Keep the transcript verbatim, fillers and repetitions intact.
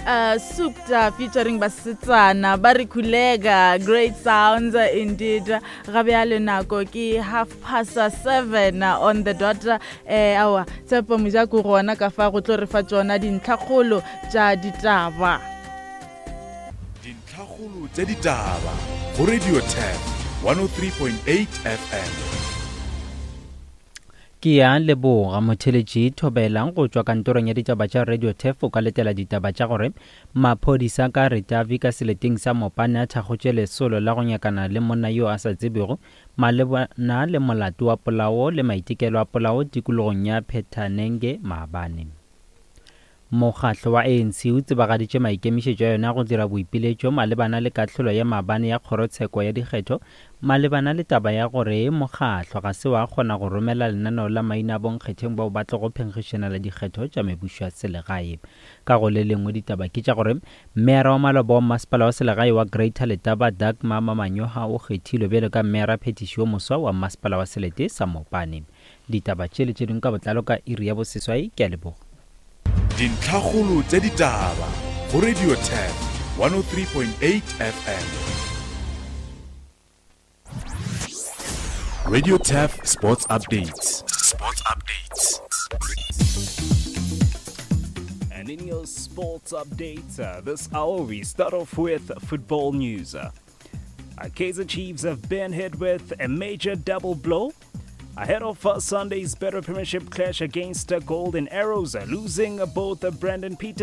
uh, Supta featuring Basetsana ba re Khulega. Great sounds uh, indeed. Ga bjale nako ke half past seven on the dot. Eh awa Tshepo Mojako gona ka fa go tlo re fa tšona dintlhakgolo tša ditaba. Dintlhakgolo tša ditaba go Radio Turf one oh three point eight F M. Ke ya leboga motheletši thobelang go tšwa kantorong ya ditaba tša Radio Turf. O ka letela ditaba tša gore maphodisa ka Ritavi ka seleteng sa Mopane a thakgotše lesolo la go nyakana le monna yo a sa tsebego malebana le molato wa polao le maitekelo a polao tikologong ya Phethanenge maabane. Mokgatlo wa A N C o tsebagaditše maikemišetšo a yona go dira boipiletšo malebana le kahlolo ya maabane ya kgorotsheko ya dikgetho malebana le taba ya gore mokgatlo ga se wa kgona go romela lenaneo la maina a bonkgetheng bao ba tlogo phenkgišanela dikgetho tša mebušo ya selegae. Ka go le lengwe ditaba ke tša gore meyara wa maloba wa masepala wa selegae wa Greater Letaba, Dagmar Mamanyoha, o kgethilwe bjalo ka meyara phetiši yo moswa wa masepala wa selete sa Mopane. Ditaba tše le tše dingwe ka botlalo ka iri ya boseswai. Ke a leboga. Dintlhakgolo tša ditaba go Radio Turf one oh three point eight F M. Radio Turf Sports Updates. Sports Updates. And in your sports updates, uh, this hour we start off with football news. Uh, Kaizer Chiefs have been hit with a major double blow ahead of uh, Sunday's Betway Premiership clash against uh, Golden Arrows, uh, losing uh, both uh, Brandon Peters